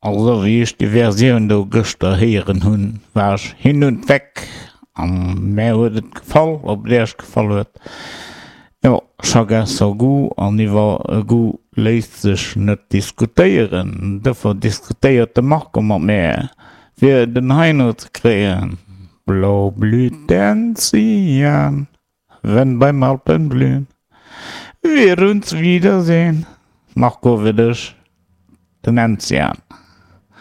Also wéi ech déi Versioun do gëschter héieren hunn, war ech hin und weg an mär huet et gefall. Ob et iech gefall huet, jo, chacun son goût an iwwer e Goût léisst sech net diskutéieren. Dofir diskutéiert de Marco mat mär, fir den Heino ze kréien. Blau blüht d'Enzian, wenn beim Alpenblühen wir uns wiedersehen. Marco, fir dech den Enzian.